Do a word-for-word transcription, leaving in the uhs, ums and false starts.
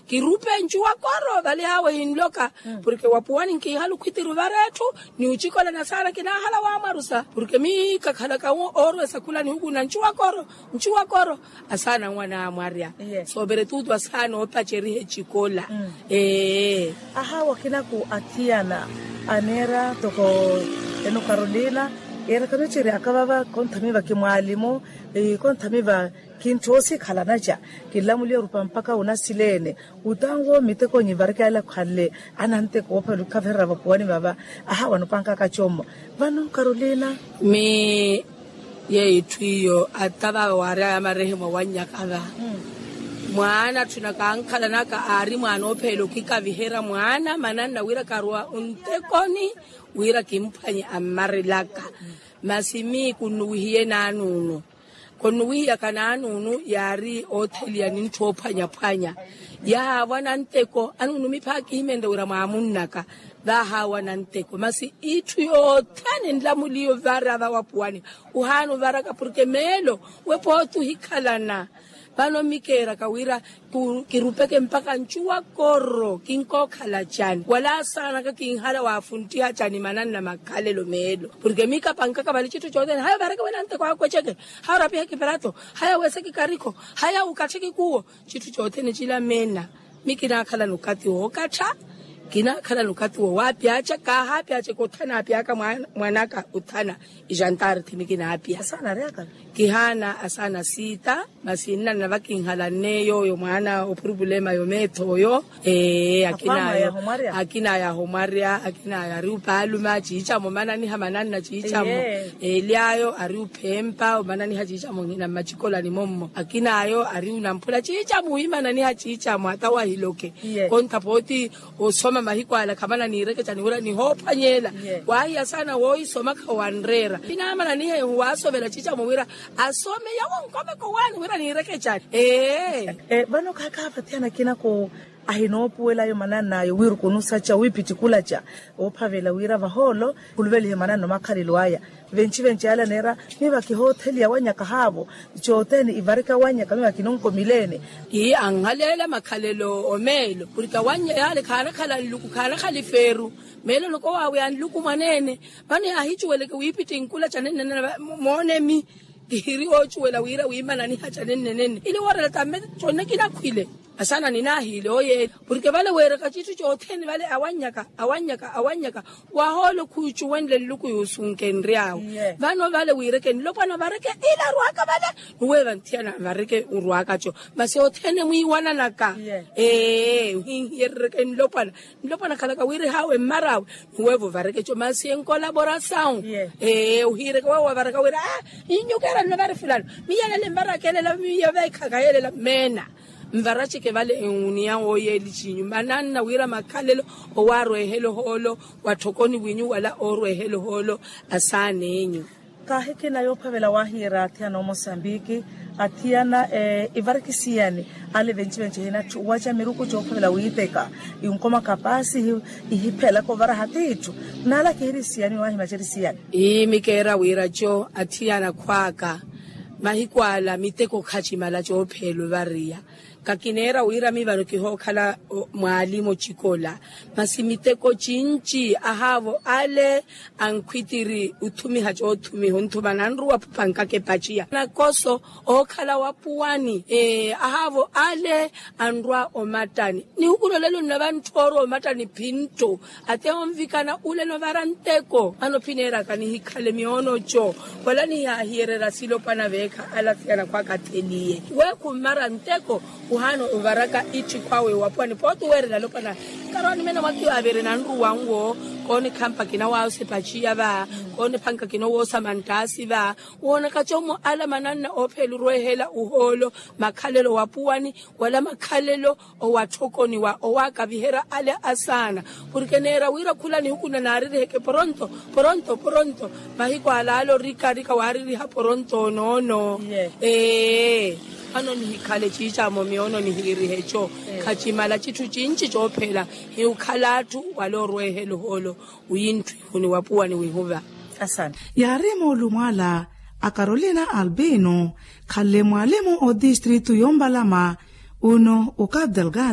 Kirupe ncuwa koro vale hawe hinloka. Porke wapuwani nkihala okhwitiri ovara etthu, ni ocikolana saana kinahala wamwarusa porke mi kakhalaka oorwesa khula ni hukuna ncuwa koro. Ncuwa koro asaana anwana amwarya. Sooperetutu asaana oopaceriha ecikola. Ee. Ahawa khinaku athiyana aneera toko eno carolina, yeera kamiceryaka vava konthamiva kimwaalimu, konthamiva kintthoosi khalanaca. Kinlamuliya orupa mpakha unasileene. Utanwo mitekonyi varikela khanle ananteko oophavela okhaverera vapuwani vava. Ahawa nopankaka commo vano carolina. Mi yeeyo itthu iyo ata vava waaryaya marehemwa wannyaka va. Mwaana atthu nakankhalanaka aari mwaana oopheela okikaviherya mwaana mananna wira karuwa ontekoni wira kimphwanye ammarelaka. Masi mii kunnuwihiye naanuunu. Konnuwihiyaka naanuunu yaari ootheliya ni ntthu oophwanyaphwanya. Yahaavwa nanteko anuunu miphaakihimenta wira mwaamunnaka. Vaahaawa nanteko masi itthu yothene nlamuliyo vara vawapuwani. Ohaana ovaraka porke meelo we pooti ohikhalana. Vano mikeeraka wira kirupeke mpakha ncuwa koro kinkookhala cani wala asaanaka kinhala waafunttiha cani mananna makhalelo meelo. Porke mikapankaka vale citthu cothene haya ovareke wena nteko akweceke. Haya orapihe kiperato. Haya weseke karikho. Haya ukattheke kuwo. Citthu cothene cila meena. Mi kinaakhalana okathi wookatha. Kinaakhalana okathi wowapyaca kaahaapyaceke othana apyaka mwanaka othana. Ijantarthi mi kinaapya. Kihaana asaana siita. Masi nnanna vakinhalanne yooyo mwaana opurupulema yomeetho oyo. Ee akinaayo. Akinaayo ahomwarya akinaayo ari opaaluma ciicamo omananiha mananna ciicamo. Eelyayo ari ophempa omananiha ciicamo nhina mmacikolani mommo akinaayo ari onamphula ciicamo wiimananiha ciicamo ata wahiloke. Kontha pooti osoma mahiku ala khamana niirekecani wira nihoophwanyeela. Waahiya saana woohisoma khawanreera kinaamananiha ehu waasovela ciicamo wira asome yawo nkomeko waani wira niirekecani. Ee. Vano khaakhaavathiyana kinako ahinoopuwelayo manann'ayo wira okunusaca wiipittikulaca oophavela wira vahoolo khuluvelihe mananna omakhalelo aya. Venci-venci ala neera miva kihootheliya wannyaka haavo. Cothene ivarika wannyaka miva kinonkomileene. Ii anhaleela makhalelo omeelo porke awannyaka yaale khaanakhala nluku khaanakhala ifeeru. Meelo noko waaweya nluku mwaneene. Vano yaahicuweleke wiipittinkulaca nenneneene moonemi kihiri oocuwela wira wiimananiha ca nennenenne ile woorela tamme. Conne kinakhwile asaana ninaahiile oyeeli porke vale weeraka citthu cothene vale awannyaka awannyaka awannyaka. Wahoolo khuucuwenle nluku yuusunkenry'awe. Vano vale wiireke nlopwana vareke ile arwaka vale. Nuweeva nthiyana vareke orwakaco masi othene mwiiwananaka. Ee ohinhiyerereke nlopwana nlopwana khalaka wira ehaawe mmar'awe. Nuweevo vareke co masi enkolaborasawu. Ee ohiireke weewo wavaraka wira a innyukeera nno vari fulano. Miyelela emmar'aka elela miyeveekhaka yelela meena. Nvaraceke vale enwuniya wooyeeli ciinyu mananna wira makhalelo owaarweehela ohoolo watthokoni winyu wala oorweehela ohoolo. Asaan'enyu. Kaahikina yoophavela waahiira athiyana omosambiki athiyana ivariki siyani ale venci-venci ehina atthu waca miruku coophavela wiiteka. Inkoma kapaasi ihiphelaka ovaraha tiitthu naala kihiri siyani waahi maceri siyani. Ii mikeera wira co athiyana khwaaka mahiku ala miteko khacimala coopheela ovariya. Kakineera wira mi vano kihookhala mwaalimu ocikola masi miteko cinci ahaavo ale ankhwitiri othumiha coothumiha onthupa nanruwa pankaka epaciya nakoso ookhala wapuwani. Ahaavo ale anrwa omattani nihukulolela onnava nthoorwa omattani phintthu. Ate onvikana ule novara nteko ano phineeraka nihikhale miyoono co wala nihaahiyererya silopwana veekha ala athiyana khwaka atheliye. We khummara nteko ohaana ovaraka itthi khwawe wapuwani pooti weerela alopwana. Karwaani meena mwakiyo avere nanruwa nwo koonekhampa kinawoosa epaciya va koonephanka kinowoosa manttaasi va. Woonaka commo ala mananna oopheela orweehela ohoolo makhalelo wapuwani wala makhalelo owatthokoniwa owaakaviherya ale asaana. Porke neera wira khula nihuku nnaareriheke poronto poronto poronto. Mahiku ala ale orikarika waareriha poronto onoono. Ee vano nihikhale ciicamo miyoono nihiirihe co khacimala citthu cinci coophela hiukhala atthu wala orweehela ohoolo. Wintthwihuni wapuwani wihuva. Yaari moolumo ala a carolina albino khanle mwaalimu otistritu yombalama. Uno o cabo delgado.